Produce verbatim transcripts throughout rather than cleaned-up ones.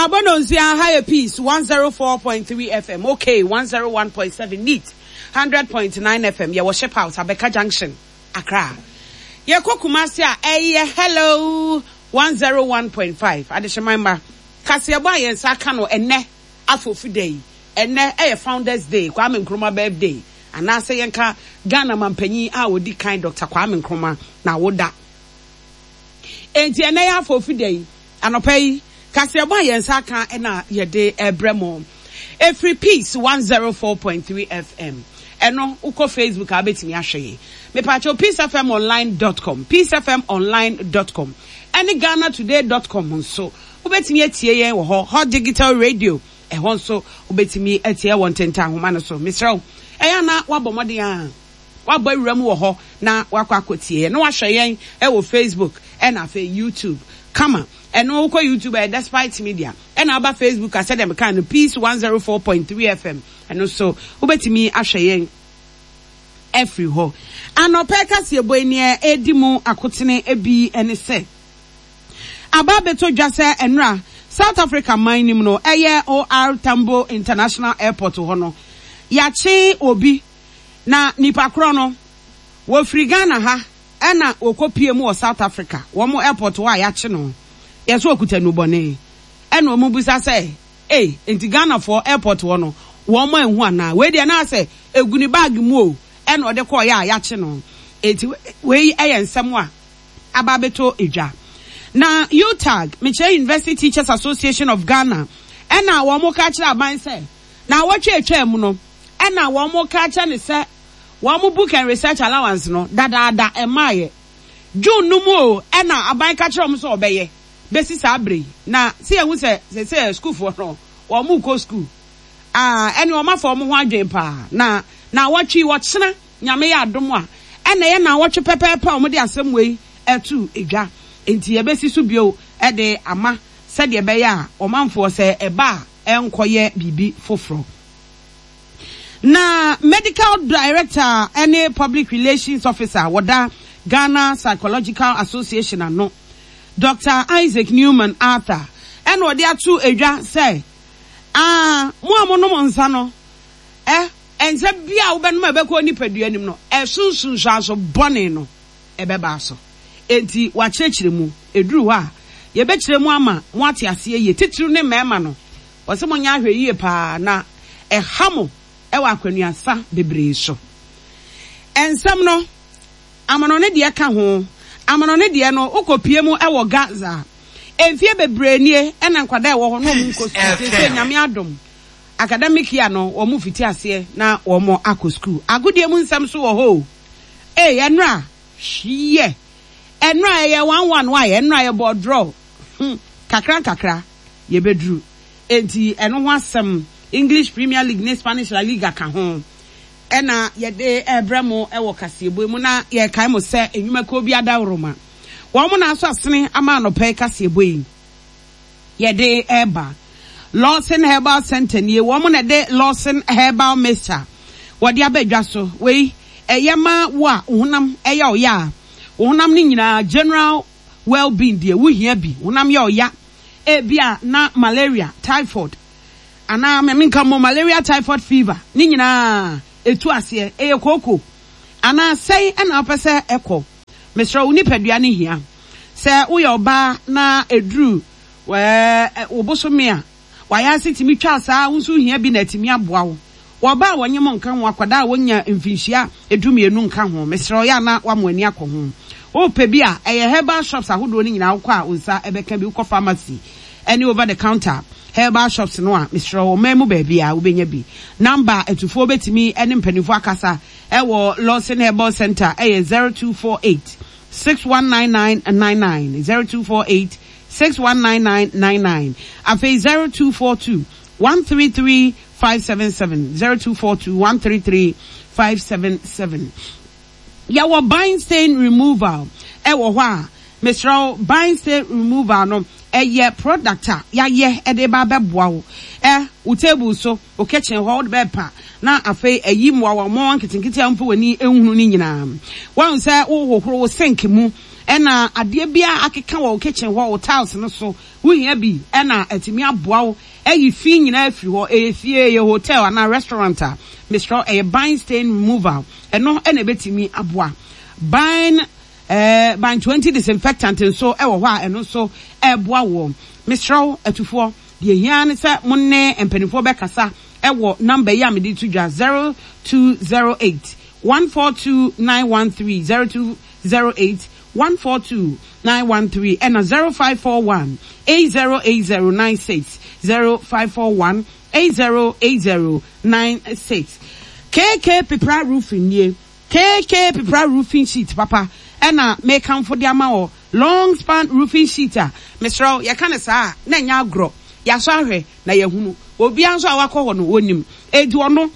Abɔnonsia ha yɛ Peace one zero four point three F M, okay, one zero one point seven, Neat hundred point nine F M. Yɛwɔ Ship House, Abɛka Junction, Accra. Yɛkɔ Kumasi a, ɛyɛ Hello one zero one point five. Adehyeman mma, kaseɛbɔ a yɛn nsa aka no ɛnɛ afofi da yi, ɛnɛ ɛyɛ Founders Day, Kwame Nkrumah birthday, anaasɛ yɛnka Ghana mampanyin a odi kan, Doctor Kwame Nkrumah, na awoda. Enti ɛnɛ yɛ afofi da yi, anɔpa yi, kaseɛbɔ a yɛn nsa aka ɛna yɛde ɛbrɛ mo efiri Peace one zero four point three F M. Ɛno wokɔ Facebook a, wobɛtumi ahwɛ yɛn. Mepatwo peace F M online dot com, peace F M online dot com ɛne Ghana Today dot com nso wobɛtumi atie yɛn wɔ hɔ. Hot Digital Radio, ɛhɔ nso wobɛtumi atie wɔ ntentan ahoma no so. Mesrɛ wo, ɛyɛ ana woabɔ mmɔden a wabɔ awura mu wɔ hɔ na wakɔ akɔtie yɛn na wahwɛ yɛn ɛwɔ Facebook ɛna afei YouTube kama. Ɛno wokɔ YouTube, ɛyɛ Despite Media, ɛna aba Facebook a, sɛdeɛ meka no, Peace one zero four point three F M, ɛno so wobɛtumi ahwɛ yɛn ɛfiri hɔ. Anɔpɛ kaseɛbɔ yi, neɛ ɛdi mu akotene bi ɛne sɛ aba abɛtɔ dwa sɛ ɛnora South Africa man nim no, ɛyɛ O R Tambo International Airport hɔ no, yɛakye obi na nipa korɔ no wɔfiri Ghana ha ɛna wɔkɔ pie mu wɔ South Africa wɔn airport hɔ a yɛakye no. Yɛsɛ okuta nubɔne, ɛna wɔn bisa sɛ, ee, nti Ghanafoɔ airport hɔ no wɔn anhu anaa? Wei deɛ naa sɛ egu ne bag mu o, ɛna ɔde kɔɔ yɛ a yɛakye no. Eti wei ɛyɛ nsɛm a aba abɛtɔ edwa. Na UTAG, mekyerɛ University Teachers Association of Ghana, ɛna wɔn ka kyerɛ aban sɛ na awɔtwe atwa mu no, ɛna wɔn ka kyerɛ ne sɛ wɔn book and research allowance no dadaada ɛmaayɛ June no mu o, ɛna aban ka kyerɛ wɔn sɛ ɔbɛyɛ bɛsi saa abere yi. Na si ehu sɛ sɛ sukuufoɔ no wɔn kɔ sukuu aa, ɛne wɔn afa wɔn ho adwene paa. Na na awɔtwe wɔkyena, Nyame yɛ adom a, ɛna ɛyɛ na awɔtwe pɛpɛɛpɛ a wɔde asɛm wei ɛto edwa. Nti yɛbɛsi so bio ɛde ama sɛdeɛ ɛbɛyɛ a ɔmanfoɔ sɛ ɛba a, ɛnkɔyɛ biribi foforɔ. Na medical director ɛne public relations officer wɔda Ghana Psychological Association ano, Doctor Isaac Newman Arthur, ɛna ɔde ato edwa sɛ aa, mo a monom nsa no, ɛ nsa bi a wobɛnom a ɛbɛkɔ nipadua anim no, ɛso nsunsuanso bɔne no ɛbɛba so. Enti wakyerɛkyerɛ mu, eduru hɔ a yɛbɛkyerɛ mu ama mo ate aseɛ yie. Titiriw ne mmarima no, wɔsɛ mo nyɛ ahwɛ yie paa na ɛha mo ɛwɔ akwanuasa bebree so. Nsɛm no amono ne deɛ ka ho, amono ne deɛ no wokɔpie mu ɛwɔ Gaza, mfie bebree nie ɛna nkwadaa ɛwɔ hɔ na wɔn nkɔ sukuu. Sɛ Nyame adom, academic year no wɔn fiti aseɛ na wɔn akɔ sukuu. Agodie mu nsɛm so wɔ hɔ o. Ee, ɛnora hwiɛ, ɛnora ɛyɛ one one wa, ɛnora yɛ bɔ draw hmm kakra nkakra yɛbɛduru. Enti ɛno ho asɛm, English Premier League ne Spanish La Liga ka ho, ɛna yɛde ɛbrɛ mo ɛwɔ kaseɛbɔ mu. Na yɛkae mo sɛ enwumakuo bi adaworoma wɔn mo na aso asene ama anɔpɛ kaseɛbɔ yi yɛde ɛba. Lawson Herbal Center nie, wɔn mo na ɛde Lawson Herbal Mixture wɔde aba dwa so. Wei ɛyɛ ma wo a honam ɛyɛ ɔyɛ a, wo honam no nyinaa, general well-being deɛ wohia bi. Honam yɛ ɔya, ebi a na malaria, typhoid, anaa mɛminka mo malaria, typhoid, fever ne nyinaa etu aseɛ. Ɛyɛ kooko anaa sɛn ɛna apɛ sɛ ɛkɔ? Mesrɛ wo, nipadua ne hia sɛ woyɛ ɔbaa na eduru wɛɛ wo bosome a wayɛ ase tumi twa saa, wo nso hia bi na atumi aboa wo. Wɔba a wɔnyɛ mo nka ho, akwadaa a wɔnya mfinhyia edumienu nka ho. Mesrɛ, ɔyɛ ana wamo ani akɔ ho. Wopɛ bi a, ɛyɛ herbal shops ahodoɔ no nyinaa wokɔ a, wo nsa ɛbɛka bi. Wokɔ pharmacy ɛne over the counter herbal shops no a, mesrɛ, ɔman mu baabi a wobɛnya bi. Number atufoɔ bɛtumi ɛne mpanimfoɔ akasa ɛwɔ Lawson Herbal Center ɛyɛ zero two four eight six one nine nine nine nine, zero two four eight six one nine nine nine nine, afei zero two four two one three three five seven seven, zero two four two one three three five seven seven. Yɛwɔ bind stain removal ɛwɔ hɔ a, mesrɛ, bind stain removal no Ɛyɛ product a yɛayɛ de ba abɛboa wo. Ɛ wo table so, wo kitchen hɔ, wode bɛpa na afei ayi mmoawa mmoawa nketenkete a womfa w'ani nhunu no nyinaa. Woahu sɛ wohohoro wo sink mu ɛna adeɛ biara akeka wɔ wo kitchen hɔ, wo tiles no so, wohia bi ɛna atumi aboa wo ayi fi nyinaa afiri hɔ. Ɛyɛ fie, ɛyɛ hotel anaa restaurant a, mesrɛ wo, ɛyɛ Bind stain removal. Ɛno ɛna ɛbɛtumi aboa. Bind eh, Bind twenty disinfectant nso ɛwɔ hɔ a ɛno nso ɛboa wɔ. Mesrɛ wo, atufoɔ, deɛ hia ne sɛ mo ne mpanimfoɔ bɛkasa ɛwɔ number yi a mede to dwa, zero two zero eight one four two nine one three, zero two zero eight one four two nine one three, ɛna zero five four one eight zero eight zero nine six, zero five four one eight zero eight zero nine six. K K Pepra Roofing nie. K K Pepra Roofing Sheet papa ɛna mekamfo de ama wɔ, long span roofing sheet a mesrɛ wo, yɛka ne saa a na ɛnyɛ agorɔ. Yɛasɔ ahwɛ na yɛhunu. Obiara nso a wakɔ hɔ no wɔnim. Enti ɔno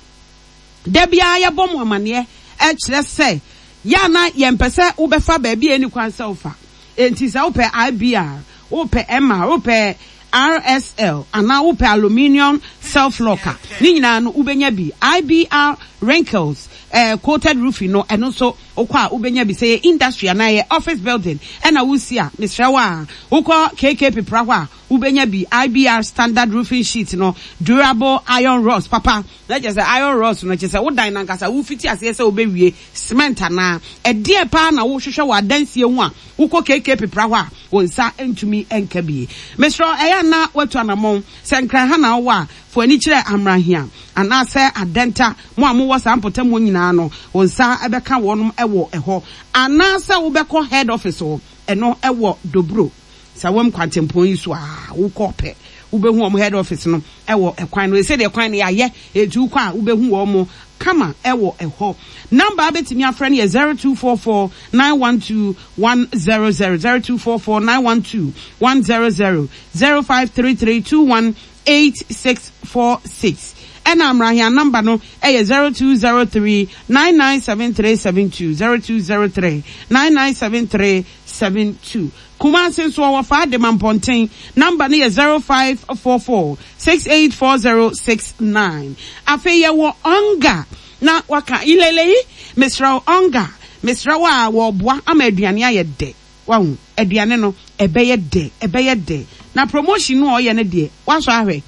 da biara yɛbɔ mo amanneɛ ɛkyerɛ sɛ yɛ na yɛmpɛ sɛ wobɛfa baabi a ɛni kwan sɛ wofa. Enti sɛ wopɛ I B R, wopɛ M R, wopɛ R S L anaa wopɛ aluminium self locker, ne nyinaa no wobɛnya bi. I B R wrinkles eh, coated roofing no, ɛno nso wokɔ a wobɛnya bi. Sɛ yɛ industry anaa yɛ office building ɛna wosi a, mesrɛ wo a, wokɔ K K Pepra hɔ a wobɛnya bi. I B R standard roofing sheet no, durable iron rods papa, na kyerɛ sɛ iron rods no kyerɛ sɛ wodan nankasa wofiti aseɛ sɛ wobɛwie cement anaa ɛdeɛ paa na wohwehwɛ wɔ adansie ho a, wokɔ K K Pepra hɔ a wo nsa ntumi nka bie. Mesrɛ, ɛyɛ ana watu anammɔn sɛ Nkran ha na wowɔ a, fo ani kyerɛ Amrahia anaasɛ Adɛnta. Mo a mowɔ saa mpɔtam hɔ nyinaa no, wo nsa ɛbɛka wɔnom ɛwɔ ɛhɔ, anaasɛ wobɛkɔ head office hɔ, ɛno ɛwɔ Dobro Sawam kwantempɔn yi so a, wokɔ pɛ wobɛhu wɔn head office no ɛwɔ ɛkwan no ɛsɛ deɛ kwan no yɛayɛ etu kɔ a wobɛhu wɔn kama ɛwɔ ɛhɔ. Number abɛtumi afrɛ no yɛ zero two four four nine one two one zero zero, zero two four four nine one two one zero zero, zero five three three two one eight six four six, ɛna Amrahia number no ɛyɛ zero two zero three nine nine seven three seven two, zero two zero three nine nine seven three seven two. Kumasi nso ɔwɔ fa Adema Mpɔnten, number no yɛ zero five four four six eight four zero six nine. Afei yɛwɔ Ɔnga na waka ilele yi. Mesrɛ wo, Ɔnga, mesrɛ wo a, wɔboa ama aduane ayɛ dɛ. Wahu aduane no ɛbɛyɛ dɛ, ɛbɛyɛ dɛ. Na promotion no a ɔyɛ no deɛ, wasɔ ahwɛ.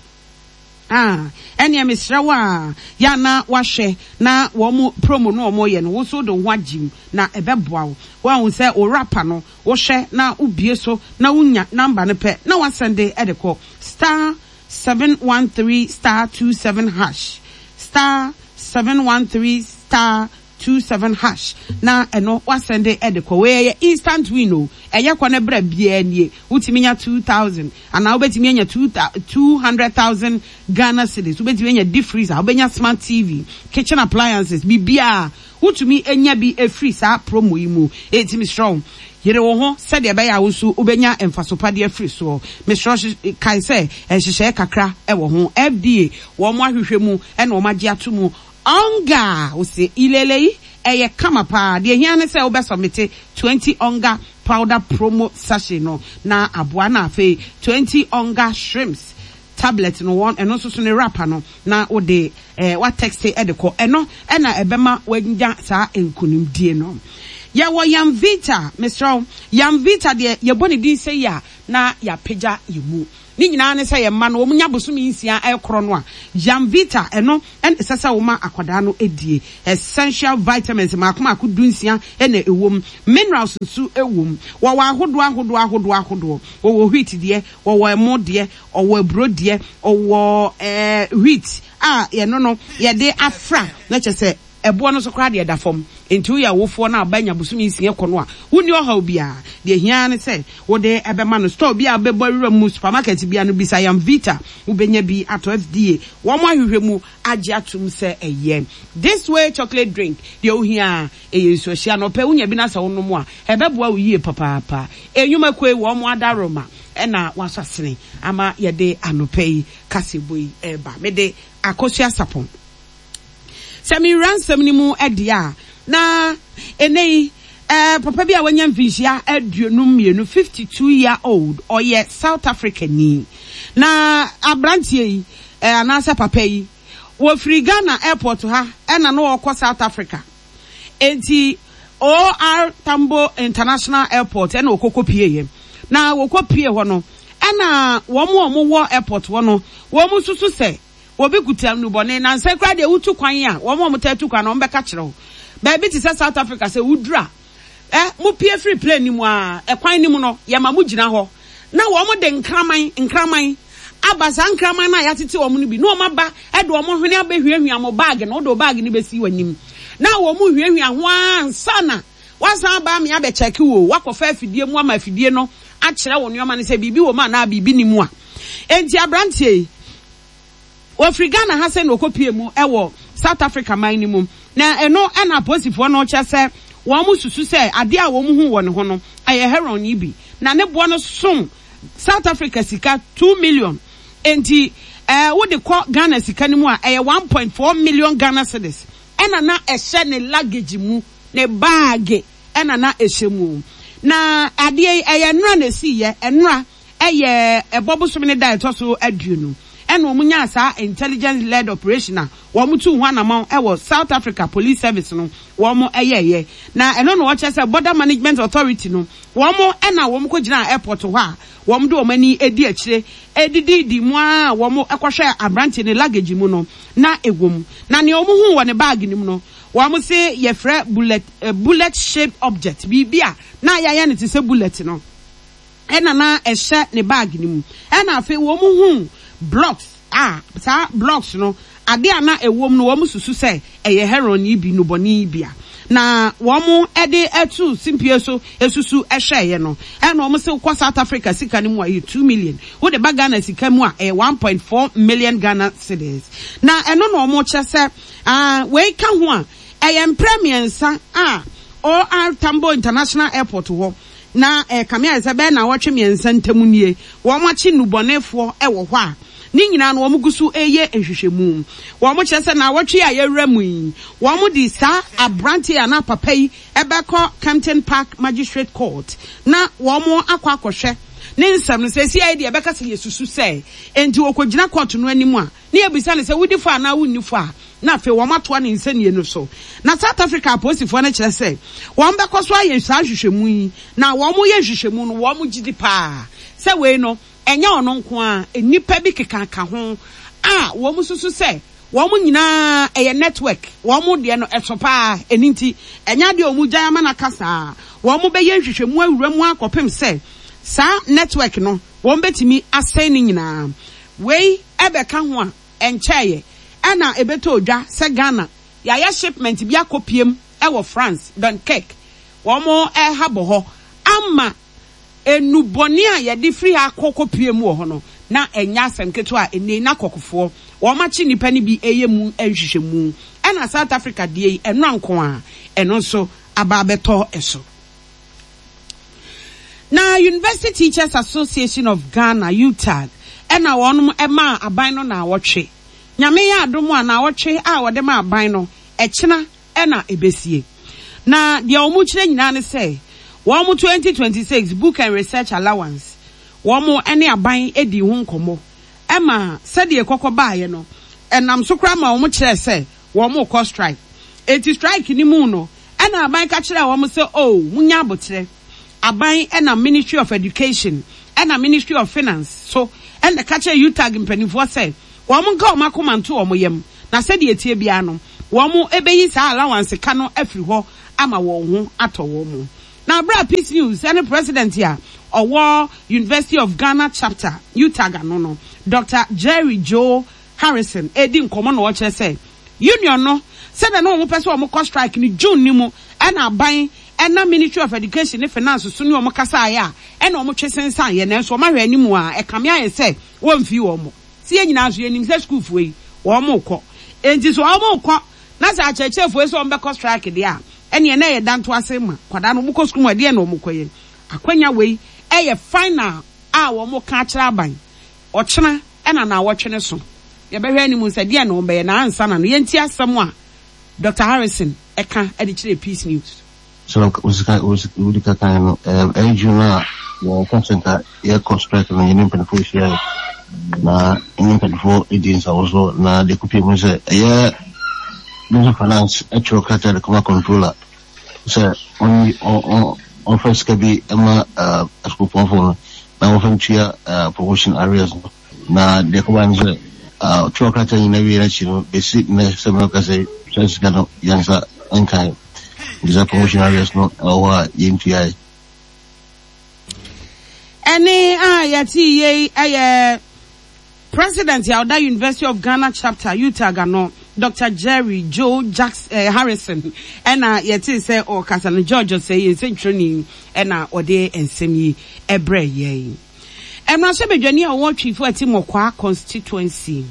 Ah, ɛnneɛ mesrɛ wo a, yɛ na wahwɛ na wɔn mo promo no wɔn yɛ no, wo nso de wo ho agye mu na ɛbɛboa wo. Wahu sɛ wo wrapper no, wohwɛ na wobie so na wonya number no pɛ na wasɛnde ɛde kɔ star seven one three star two seven hash, star seven one three star two seven hash, na ɛno wasɛnde ɛde kɔ. Wei ɛyɛ instant win o. Ɛyɛ kɔ ne brɛ biara nie, wotumi nya two thousand anaa wobɛtumi anya two two hundred thousand Ghana cedis, wobɛtumi anya deep freezer, wobɛnya smart T V, kitchen appliances, biribiara wotumi anya bi efiri saa promo yi mu. Eti mesrɛ wo, yere wo ho sɛdeɛ ɛbɛyɛ a wo nso wobɛnya mfasopadeɛ afiri soɔ. Mesrɛ, kae sɛ nhyehyɛeɛ kakra ɛwɔ ho. F D A wɔn ahwehwɛ mu ɛna wɔn agye ato mu. Ɔnga wose ilele yi ɛyɛ kama paa. Deɛ hia ne sɛ wobɛsɔmete twenty Ɔnga powder promo sachet no na aboa, na afei twenty Ɔnga shrimps tablet no, wɔn ɛno nso so ne wrapper no, na wode ɛɛ watɛkse ɛde kɔ. Ɛno ɛna ɛbɛma wanya saa nkunimdie no. Yɛwɔ Yamvita. Mesrɛw, Yamvita deɛ, yɛbɔ ne din sɛ yi a na yɛapagya yɛ mu. Ne nyinaa ne sɛ yɛn mma no wɔn nya bosome nsia ɛkorɔ no a, Yamvita ɛno ɛna ɛsɛ sɛ wɔma akwadaa no edie. Essential vitamins mako mako dunsia ɛna ɛwɔ mu, minerals nso ɛwɔ mu. Wɔwɔ ahodoɔ ahodoɔ ahodoɔ ahodoɔ. Wɔwɔ wheat deɛ, wɔwɔ ɛmo deɛ, ɔwɔ aburo deɛ, ɔwɔ ɛɛ wheat a yɛno no yɛde afra na kyerɛ sɛ ɛboɔ no nso koraa deɛ ɛda fam. Nti woyɛ awofoɔ no a ɔba nya bosome nsia kɔ no a, wonni ɔhaw biara. Deɛ hia ne sɛ wode ɛbɛma no. Store bi a wobɛbɔ awura mu, supermarket bia no, bisa Yamvita, wobɛnya bi atɔ. F D A wɔn ahwehwɛ mu agye atom sɛ ɛyɛ. This Way chocolate drink deɛ, ohia ɛyɛ nsuohyia na ɔpɛ wonya bi na sɛ wonom a, ɛbɛboa wo yie papaapa. Enwumakoe wɔn adaroma ɛna wasɔ asene ama yɛde anɔpɛ yi kasebo yi ɛreba. Mede Akosua Sapɔn sɛ mewura nsɛm no mu ɛdeɛ a, na ɛnɛ yi Eh, papa bi a wanya mfinhyia aduonum mmienu, fifty two year old, ɔyɛ South Africa ni. Na aberanteɛ yi, eh, anaasɛ papa yi, wɔfiri Ghana airport ha ɛna na ɔrekɔ South Africa. Enti O R Tambo International Airport ɛna ɔkɔkɔ pieeɛ. Na wɔkɔ pie hɔ no, ɛna wɔn a wɔwɔ airport hɔ no, wɔn susu sɛ obi kuta nnubɔne. Na nsɛ koraa deɛ, wotu kwan a, wɔn a wɔtaa tu kwan no, wɔn bɛka kyerɛ wo. Baabi te sɛ South Africa, sɛ woduru a, ɛ mo pie firi plane no mu a, ɛkwan no mu no, yɛma mo gyina hɔ na wɔn de nkraman nkraman aba. Saa nkraman no a yɛatete wɔn no bi na wɔn aba ɛde wɔn hwene abɛhwiahwia mo bag no. Wode wo bag no bɛsi w'anim na wɔn hwiahwia ho ara nsa na wasan aba ame abɛkyɛke wo. Wakɔfa afidie mu ama afidie no akyerɛ wo nneɛma no sɛ biribi wɔ mu anaa biribi ni mu a. Enti aberanteɛ yi, wɔfiri Ghana ha sɛ na ɔkɔpie mu ɛwɔ South Africa man no mu, na ɛno ɛna apolisifoɔ no kyerɛ sɛ wɔn mo susu sɛ adeɛ a wɔn hu wɔ ne ho no ɛyɛ heroin yi bi, na ne boɔ no som South Africa sika two million. Enti ɛɛ wode kɔ Ghana sika no mu a, ɛyɛ one point four million Ghana cedis. Ɛna na ɛhyɛ ne luggage mu, ne bag ɛna na ɛhyɛ mu. Na adeɛ yi, ɛyɛ nnora na esi yɛ nnora, ɛyɛ ɛbɔ bosom ne da ɛtɔ so aduonu, ɛna wɔn nyaa saa intelligence led operation a wɔn tu ho anamɔn ɛwɔ South Africa Police Service no wɔn ɛyɛɛyɛ. Na ɛno na wɔkyerɛ sɛ Border Management Authority no, wɔn ɛna wɔn kɔ gyina airport hɔ a wɔn de wɔn ani edi akyire edididi mu a wɔn ɛkɔhwɛ aberanteɛ ne luggage mu no na ɛwɔ mu. Na nea wɔn hu wɔ ne bag no mu no, wɔn se yɛfrɛ bullet uh, bullet shaped object, biribi a na yɛayɛ no te sɛ bullet no ɛna na ɛhyɛ ne bag no mu. Ɛna afei wɔn hu blocks a saa blocks no, ade a na ɛwɔ mu no, wɔn susu sɛ ɛyɛ heroin yi bi, nubɔne yi bi a na wɔn de ɛtu simpie so esusu ɛhwɛɛyɛ no. Ɛna wɔn sɛ kɔ South Africa sika no mu a, ɛyɛ two million. Wode ba Ghana sika mu a, ɛyɛ one point four million Ghana cedis. Na ɛno na wɔn kyerɛ sɛ aa wei ka ho a, ɛyɛ mprɛ mmiɛnsa a O R Tambo International Airport hɔ na ɛkame ayɛ sɛ bɛyɛ na wɔtwe mmiɛnsa ntam nie wɔn akyi nnubɔnefoɔ ɛwɔ hɔ a ne nyinaa no wɔn gu so ɛyɛ nhwehwɛmu. Wɔn kyerɛ sɛ na wɔtwe a yɛwura mu yi, wɔn de saa aberanteɛ anaa papa yi ɛbɛkɔ Kempton Park Magistrate Court na wɔn akɔ akɔhwɛ ne nsɛm no. Sɛ esi ayɛ deɛ, ɛbɛka sɛ yɛsusu sɛ nti wɔkɔgyina court no anim a, ne yɛbisa no sɛ wodi fɔ anaa wonni fɔ a, na afei wɔn atoa ne nsɛnniɛ no so. Na South Africa apolisifoɔ no kyerɛ sɛ wɔn bɛkɔ so ayɛ saa nhwehwɛmu yi, na wɔn yɛ nhwehwɛmu no, wɔn gyi di paa sɛ wei no ɛnyɛ ɔno nko a, nnipa bi kekaka ho a wɔn susu sɛ wɔn nyinaa ɛyɛ network. Wɔn deɛ no ɛso paa. Ɛni nti ɛnyɛ adeɛ a wɔn gya ama n'aka saa. Wɔn bɛyɛ nhwehwɛmu awura mu akɔpem sɛ saa network no wɔn bɛtumi asɛn ne nyinaa. Wei ɛbɛka ho a, ɛnkyɛɛyɛ ɛna ɛbɛtɔ odwa sɛ Ghana yɛayɛ shipment bi akɔ piem ɛwɔ France, Dunkirk, wɔn ɛha bɔ hɔ ama enubɔne a yɛde firi ha akɔ pie mu wɔ hɔ no. Na ɛnyɛ asɛm ketewa a ɛnɛ na kɔkɔfoɔ wɔn akyi nipa no bi ɛyɛ mu nhwehwɛmu. Ɛna South Africa deɛ yi, ɛno anko a ɛno nso aba abɛtɔ ɛso. Na University Teachers Association of Ghana, U T A G, ɛna wɔn ɛmaa aban no na awɔtwe. Nyame yɛ adom a, na awɔtwe a wɔde ma aban no, ɛkyena ɛna ɛbɛsie. Na deɛ wɔn kyerɛ nyinaa ne sɛ wɔn twenty twenty-six book and research allowance, wɔn ne aban edi ho nkɔmɔ ɛma sɛdeɛ kɔkɔ baayɛ no, ɛnam so koraa ma wɔn kyerɛ sɛ wɔn kɔ strike. Eti strike ni mu no, ɛna aban ka kyerɛ wɔn sɛ o munya abotire. Aban ɛna Ministry of Education ɛna Ministry of Finance so ɛna ka kyerɛ U T A G mpanimfoɔ sɛ wɔn nka wɔn akoma nto wɔn yam, na sɛdeɛ etie biara no, wɔn ɛbɛyi saa allowance ka no afiri hɔ ama wɔn ho atɔ wɔn mu. Na abira Peace News ɛne president a ɔwɔ University of Ghana chapter, U T A G ano no, Doctor Jerry Joe Harrison, edi nkɔmɔ na ɔkyerɛ sɛ union no, sɛdeɛ na wɔn pɛ sɛ wɔn kɔ strike no June ni mu, ɛna aban ɛna Ministry of Education ne Finance so ne wɔn kasa ayɛ a, ɛna wɔn twe sensan yɛ. Nanso wɔn ahwɛ anim a, ɛkame ayɛ sɛ wɔn mfi wɔn si. Yɛn nyinaa nso yɛnim sɛ sukuufoɔ yi wɔn kɔ, nti so wɔn kɔ na sɛ akyerɛkyerɛfoɔ yi sɛ wɔn bɛkɔ strike deɛ a, ɛneɛ na ɛyɛ danto ase ma kwadaa no wɔn kɔ sukuu mu. Ɛdeɛ na wɔn kɔ yɛ akwanya wei ɛyɛ final a wɔn ka akyerɛ aban. Ɔkyena ɛna na awɔtwe ne so, yɛbɛhwɛ anim sɛ deɛ na wɔn bɛyɛ. Na ansa na no, yɛnti asɛm a Doctor Harrison ɛka ɛde kyerɛ Peace News. Sɛ wosika wodi kakan no, ɛyɛ June a yɛka sɛ nka yɛkɔ strike no, yɛne mpanimfoɔ ahyia na ɛne mpanimfoɔ di nsawo so, na deɛ kɔpie mu sɛ ɛyɛ Ministry of Finance ɛtwerɛ krataa de kɔma controller sɛ ɔnyi ɔmfa sika bi ma asukuupɔnfoɔ no na wɔmfa ntua promotion arrears no. Na deɛ kɔba no sɛ ɔtwerɛ krataa nyinaa wie n'akyi no, bɛsi nnɛ sɛ mɛka sɛ saa sika no yɛnsa nkae, nti sɛ promotion arrears no ɛwɔ hɔ a yɛntuae. Ɛne a yɛte yei ɛyɛ President a ɔda University of Ghana Chapter, UTAG ano, Doctor Jerry Joe Jackson, eh, Harrison, ɛna yɛte sɛ ɔkasa no. George Osei yɛn nsɛntwerɛni ɛna ɔde nsɛm yi ɛbrɛ yɛn. Mmarahyɛbadwani a ɔwɔ Twifo Atti-Morkwa constituency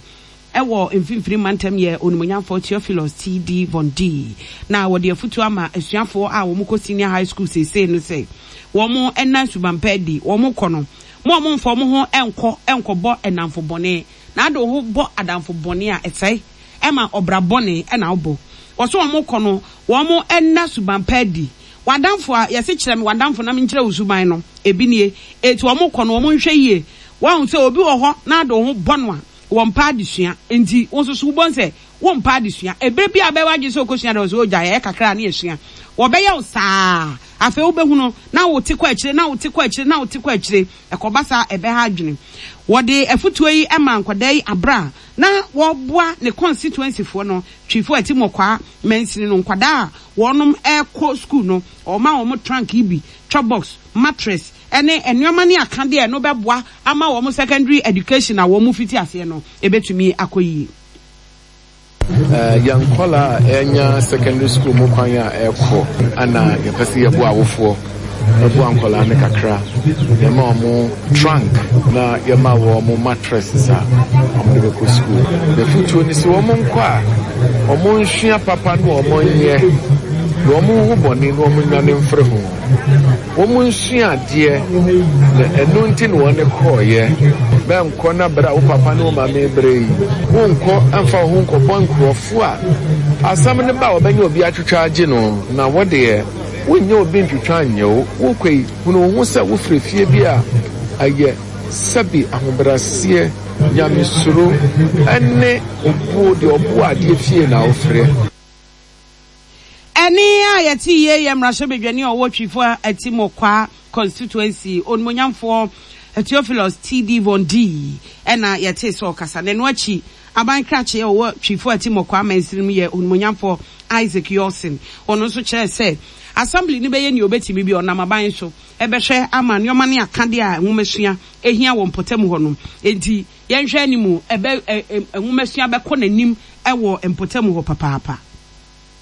ɛwɔ Mfimfini Mantam yɛ Onimonyamfoɔ Theophilus T D. Von D, na wɔde afutuo ama asuafoɔ a wɔn kɔ senior high school seesei no sɛ wɔn ɛna subanpa adi. Wɔn kɔ no mo a wɔmfa wɔn ho nkɔ nkɔbɔ ɛnamfo bɔne, na ade ho bɔ adamfo bɔne a ɛsɛe ɛma ɔbra bɔne ɛna ɔbɔ wɔso. Wɔn kɔ no, wɔn ɛna subanpa adi. Wadamfo a yɛsi kyerɛ me wadamfo na menkyerɛ wo suban no ebi nie. Eti wɔn kɔ no, wɔn nhwɛ yie. Wɔn sɛ obi wɔ hɔ na ade ho bɔ no a wɔn mpa adesua, nti wɔn nso so wɔbɔ nsɛ wɔn mpa adesua. Ebere bi a bɛwɔ adwene sɛ okosua de, ɔsɛ ogya yɛ kakra ne esua, wɔbɛyɛ wo saa. Afei wobɛhu no na wote kɔ akyire, na wote kɔ akyire, na wote kɔ akyire. Ɛkɔba saa, ɛbɛha adwene. Wɔde afutuo yi ma nkwadaa yi abra na wɔboa ne constituency foɔ no, Twifo Atti-Morkwa mansini no nkwadaa a wɔnom ɛkɔ school no. Ɔma wɔn trunk yi bi, chop box, mattress ɛne nneɛma ne akadeɛ no bɛboa ama wɔn secondary education a wɔn fiti aseɛ no ebɛtumi akɔ yie. Yɛn nkɔla a ɛnya secondary school mu kwan a ɛkɔ ana, yɛpɛ sɛ yɛboa awofoɔ, ɛboa nkɔla no kakra. Yɛma wɔn trunk na yɛma wɔn mattresses a wɔn de bɛkɔ school. Yɛfotuo ni sɛ wɔn nkɔ a, wɔn nsua papa na wɔn nyɛ na wɔn ho bɔne na wɔn nwane mfiri ho. Wɔn nsua adeɛ na ɛno nti na wɔn kɔɔyɛ. Bɛnkɔ na bere a wo papa ne wo maame bere yi, wonkɔ mfa wo ho nkɔbɔ nkurɔfoɔ a asɛm no ba a wɔbɛnyɛ obi atwitwa agye no, na wɔdeɛ wonyɛ obi ntwitwa nyɛ wo. Wokɔ yi, hunu wo ho sɛ wofiri fie bi a ɛyɛ sɛbi ahobrɛaseɛ, nyamesuro ɛne obuo deɛ ɔboa adeɛ fie na wofrɛ. Ɛne a yɛte yie yɛ mmarahyɛbadwani a ɔwɔ Twifo Atti-Morkwa constituency, Onimonyamfoɔ Theophilus T D. Von D, ɛna yɛte sɛ ɔkasa. Na ɛno akyi, aban krakye a ɔwɔ Twifo Atti-Morkwa mansini mu yɛ Onimonyamfoɔ Isaac Yawson. Ɔno nso kyerɛ sɛ assembly no bɛyɛ nea obɛtumi bi, ɔnam aban so ɛbɛhwɛ ama nneɛma ne akadeɛ a nwomasua ehia wɔ mpɔtam hɔ no. Enti yɛnhwɛ anim, ɛbɛ nwomasua bɛkɔ n'anim ɛwɔ mpɔtam hɔ papaapa.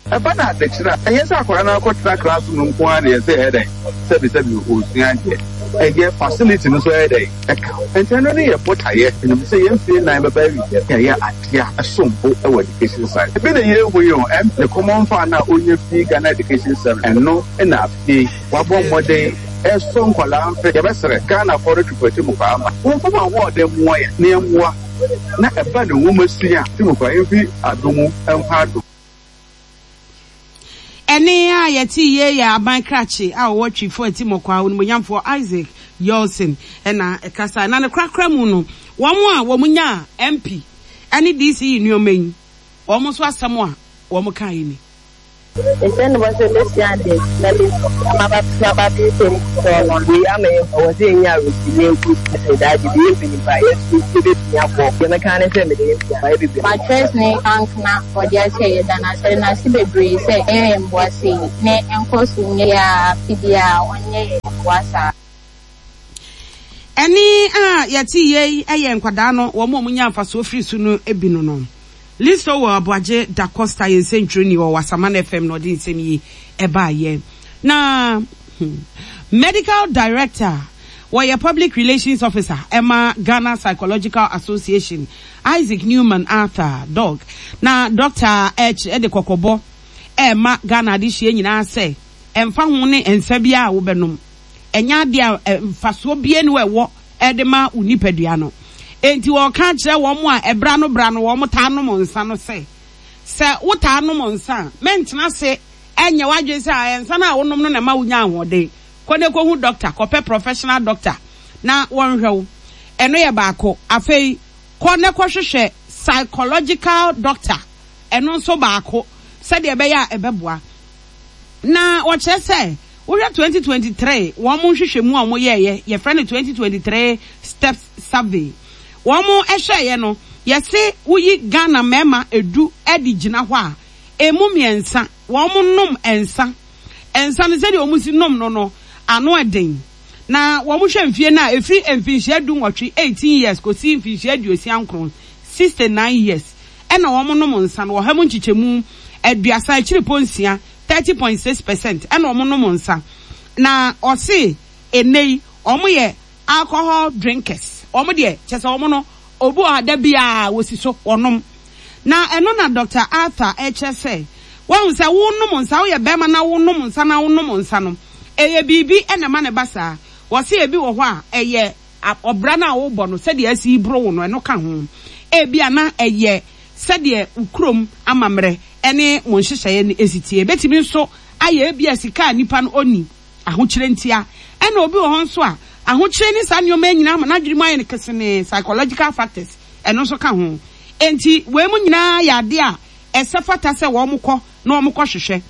Ɛba no adekyerɛ a, ɛnyɛ sɛ akwadaa no akɔtena classroom no nko ara deɛ sɛ ɛyɛ dɛn, sɛbisɛbi, ɔresua adeɛ. Ɛyɛ facility no nso ɛyɛ dɛn ɛka ho. Nti ɛno ne yɛ botaeɛ. Ɛnim sɛ yɛn mfie nnan bɛba awieɛ, yɛyɛ adeɛ a ɛsom bo wɔ education side. Ebi na yɛhu yi o, ɛm ne common fund a ɔnya fii Ghana Education Service, ɛno na afei wabɔ mmɔden ɛsɔ nkwadaa mfe. Yɛbɛsrɛ Ghanafoɔ no twipɔti mu paa ma wɔmfa wɔn ahoɔden mmoa yɛn na yɛmmoa na ɛba ne nwoma sua ti mu paa yɛmfi adom mu nkɔ adom. Ɛne a yɛte yie yɛ aban krakye a ɔwɔ Twifo Atti-Morkwa, Onimonyamfoɔ Isaac Yawson, ɛna ɛkasa. Na ne korakora mu no, wɔn a wɔn nya M P ɛne D C E nneɛma yi, wɔn nso asɛm a wɔn ka yi ni. Nhyɛ ne bɔ sɛ bɛsua ade na bɛsua aba bɛsɛm sɔɔ no. Wei ama yɛn ɛwɔ sɛ yɛnya awerɛhyɛmu na yɛnkɔ sukuu sɛ daakye bi yɛ mpanyimfo a, yɛn nso yɛbɛtumi akɔ. Deɛ mɛka ne sɛ mede yɛn pia mayɛ bebree. Mattress ne trunk na ɔde akyɛ yɛ da no ase no ase bebree sɛ ɛyɛ yɛn mmoa sei ne nkɔ so nyɛ yɛ a, afe biara ɔnyɛ yɛn mmoa saa. Ɛne a yɛte yie yɛ nkwadaa no, wɔn a wɔnya mfasoɔ firi so no bi no no Listo wɔ Aboagye Da Costa, yɛn nsɛntwerɛni wɔ Wasaman F M, na ɔde nsɛm yi ɛbaayɛ. Na hmm, medical director, wɔyɛ public relations officer ɛma Ghana Psychological Association, Isaac Newman Arthur Dog, na doctor ɛkyerɛ de kɔkɔbɔ ɛma Ghana adehyia nyinaa sɛ ɛmfa ho ne nsa biara a wobɛnom, ɛnyɛ adeɛ a mfasoɔ bie ne ɛwɔ ɛde ma wo nipadua no. Enti wɔka kyerɛ wɔn a ɛbra no bra no wɔn taa nom nsa no sɛ sɛ wotaa nom nsa a, mɛntena ase Ɛnyɛ w'adwene sɛ nsa no a wonom no na ɛma wonya ahoɔden. Kɔ na kɔhu doctor, kɔpɛ professional doctor na wɔnhwɛ wo. Ɛno yɛ baako. Afei, kɔ na kɔhwehwɛ psychological doctor. Ɛno nso baako, sɛdeɛ ɛbɛyɛ a ɛbɛboa. Na wɔkyerɛ sɛ, wohwɛ twenty twenty-three wɔn mo nhwehwɛmu a wɔn yɛɛyɛ, yɛfrɛ no twenty twenty-three Steps Survey, wɔn mo ɛhwɛɛyɛ no, yɛse woyi Ghana mmarima edu ɛde gyina hɔ a, emu mmiɛnsa wɔn mo nom nsa. Nsa no, sɛdeɛ wɔn si nom no no ano ɛden. Na wɔn hwɛ mfie no a, efiri mfinhyia du nwɔtwe, eighteen years, kɔsi mfinhyia aduosia nkron, sixty nine years, ɛna wɔn nom nsa no. Ɔha mu nkyekyɛmu aduasa akyiripɔ nsia, thirty point six percent, ɛna wɔn nom nsa. Na ɔse ene yi wɔn yɛ alcohol drinkers. Wɔn deɛ, kyɛ sɛ wɔn no, obi wɔ ha, da biara wɔsi so wɔnom. Na ɛno na Doctor Arthur ɛkyerɛ sɛ wɔn sɛ wɔnom nsa, woyɛ bɛrima na wɔnom nsa na wɔnom nsa no, ɛyɛ biribi ɛna ɛma ne ba saa. Wɔsi ebi wɔ hɔ a, ɛyɛ ɔbra no a wɔbɔ no, sɛdeɛ asi boro wo no, ɛno ka ho. Ebi a na ɛyɛ sɛdeɛ kurom amammerɛ ɛne mo nhyehyɛeɛ no esi tie. Ebetumi nso ayɛ ebi a sika a nipa no ɔni, ahokyerɛ ntia. Ɛna obi wɔ hɔ nso a, ahokyerɛ ne saa nneɛma nyinaa ama n'adwene mu ayɛ no kesenee. Psychological factors, ɛno nso ka ho. Nti wei mu nyinaa yɛ adeɛ a ɛsɛ fata sɛ wɔn kɔ na wɔn kɔ hwehwɛ.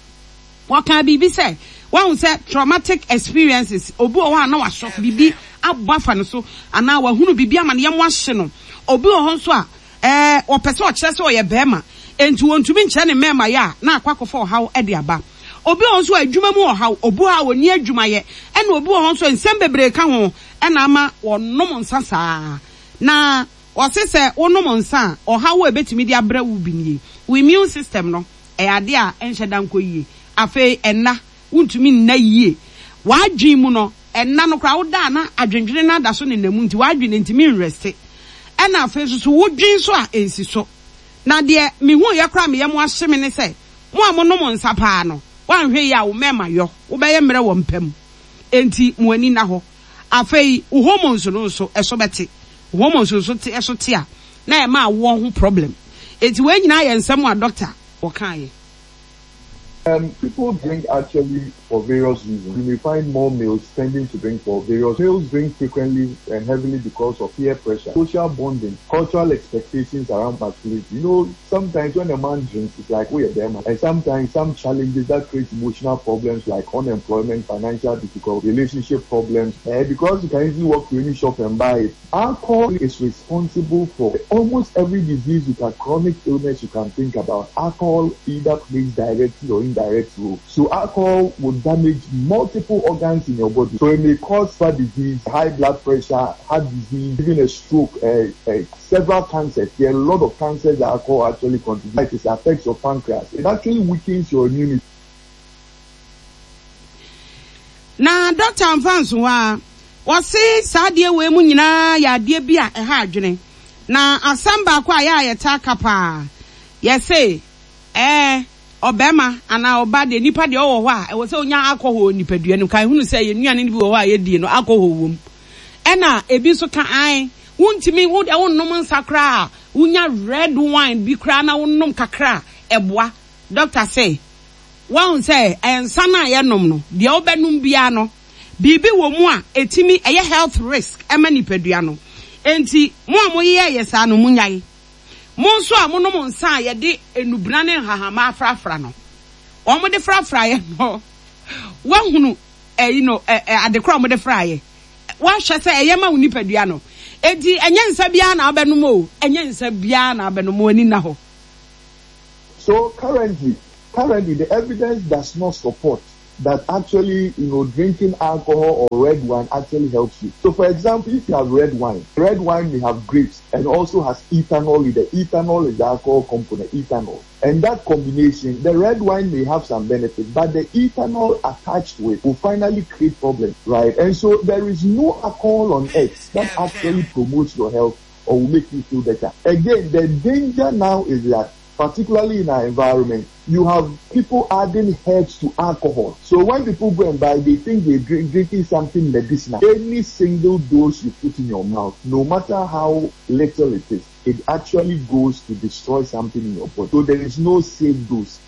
Wɔka biribi sɛ wɔn sɛ traumatic experiences. Obi wɔ hɔ a, na wasɔ biribi abɔ afa no so anaa wahunu biribi ama no yɛn ahye no. Obi wɔ hɔ nso a, ɛɛ wɔpɛ sɛ ɔkyerɛ sɛ ɔyɛ bɛrima, nti wɔntumi nkyerɛ ne mmarima yɛ a, na akɔ akɔfa ɔhaw ɛde aba. Obi wɔ hɔ nso a, adwuma mu ɔhaw, obi wɔ hɔ a wɔni adwumayɛ, ɛna obi wɔ hɔ nso a, nsɛm bebree ka ho ɛna ama wɔnom nsa saa. Na wɔse sɛ wonom nsa a, ɔhaw a ebetumi de abrɛ wo bi nie: wo immune system no, ɛyɛ adeɛ a ɛnhyɛ da nkɔ yie. Afei ɛna wontumi nna yie. W'adwene mu no, ɛna no koraa woda a, na adwendwene no ada so nenam, nti w'adwene ntumi nrest. Ɛna afei nso so wodwen so a, ɛnsi so. Na deɛ mehu yɛ koraa meyɛ mo ahye me ne sɛ, mo a monom nsa paa no, woanhwɛ yi a, wo mmarima yɔ wobɛyɛ mmerɛ wɔ mpam. Enti mo ani na hɔ. Afei wo hormones no nso ɛso bɛte. Wo hormones nso te, ɛso te a, na ɛma awoɔ ho problem. Enti wɔn nyinaa yɛ nsɛm a doctor wɔkaeɛ. Um, people drink actually for various reasons. You may find more males tending to drink for various. Males drink frequently and heavily because of peer pressure, social bonding, cultural expectations around masculinity. You know, sometimes when a man drinks, it's like, "Oh, you're there, man." And sometimes some challenges that create emotional problems like unemployment, financial difficulty, relationship problems. Eh, because you can easily walk to any shop and buy it. Alcohol is responsible for almost every disease you can, chronic illness you can think about. Alcohol either plays directly or indirect role. So alcohol will damage multiple organs in your body. So it may cause heart disease, high blood pressure, heart disease, even a stroke, uh, uh, several cancers. There are a lot of cancers that alcohol actually contributes. It affects your pancreas. It actually weakens your immunity. Na doctor mfa nso hɔ a, wɔse saa adeɛ wei mu nyinaa yɛ adeɛ bi a ɛha adwene. Na asɛm baako a yɛ a yɛtaa ka paa, yɛse ɛɛ ɔbɛrima anaa ɔba deɛ, nipa deɛ ɔwɔ hɔ a, ɛwɔ sɛ onya alcohol wɔ nipadua no. Kan hunu sɛ yɛn nnuane no bi wɔ hɔ a yɛdie no, alcohol wɔ mu. Ɛna ebi nso ka an wontumi wo deɛ, wonnom nsa koraa a, wonya red wine bi koraa na wonom kakra a, ɛboa. Doctor sɛ wɔn sɛ nsa no a yɛnom no deɛ, wobɛnom biara no, biribi wɔ mu a etimi ɛyɛ health risk ɛma nipadua no. Nti mo a moyɛ yɛ saa no, mo nyae. Mo nso a monom nsa a yɛde enubena ne nhahama afrafra no, wɔn de frafra yɛ no, wɔahunu ɛyi no, ɛ ɛ adekora a wɔde fra yɛ, wɔahwɛ sɛ ɛyɛ ma wo nipadua no. Eti ɛnyɛ nsa biara na abɛnom o, ɛnyɛ nsa biara na abɛnom o, ani na hɔ. So currently, currently the evidence does not support that actually, you know, drinking alcohol or red wine actually helps you. So for example, if you have red wine, red wine may have grapes and also has ethanol in it. Ethanol is the alcohol component, ethanol. And that combination, the red wine may have some benefit, but the ethanol attached to it will finally create problems, right? And so there is no alcohol on earth that actually promotes your health or will make you feel better. Again, the danger now is that, particularly in our environment, you have people adding herbs to alcohol. So when people go and buy, they think they're drink, drinking something medicinal. Any single dose you put in your mouth, no matter how little it is, it actually goes to destroy something in your body. So there is no safe dose.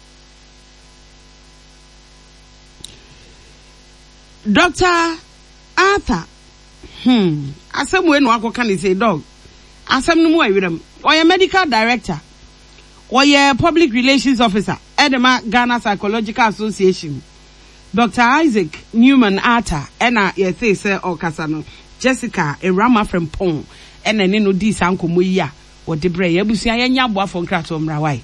Doctor Arthur, hmm, asɛm wei na wakɔka ne sei, dog. Asɛm no mu ɛwerɛm. Ɔyɛ medical director, ɔyɛ public relations officer ɛde ma Ghana Psychological Association. Doctor Isaac Newman Arthur ɛna yɛtee sɛ ɔkasa no. Jessica Ewurama Frempong ɛna ɛne no dii saa nkɔmmɔ yi a wɔde brɛɛ yɛn. Abusua, yɛnyɛ aboafoɔ nkratoɔ mmra wae.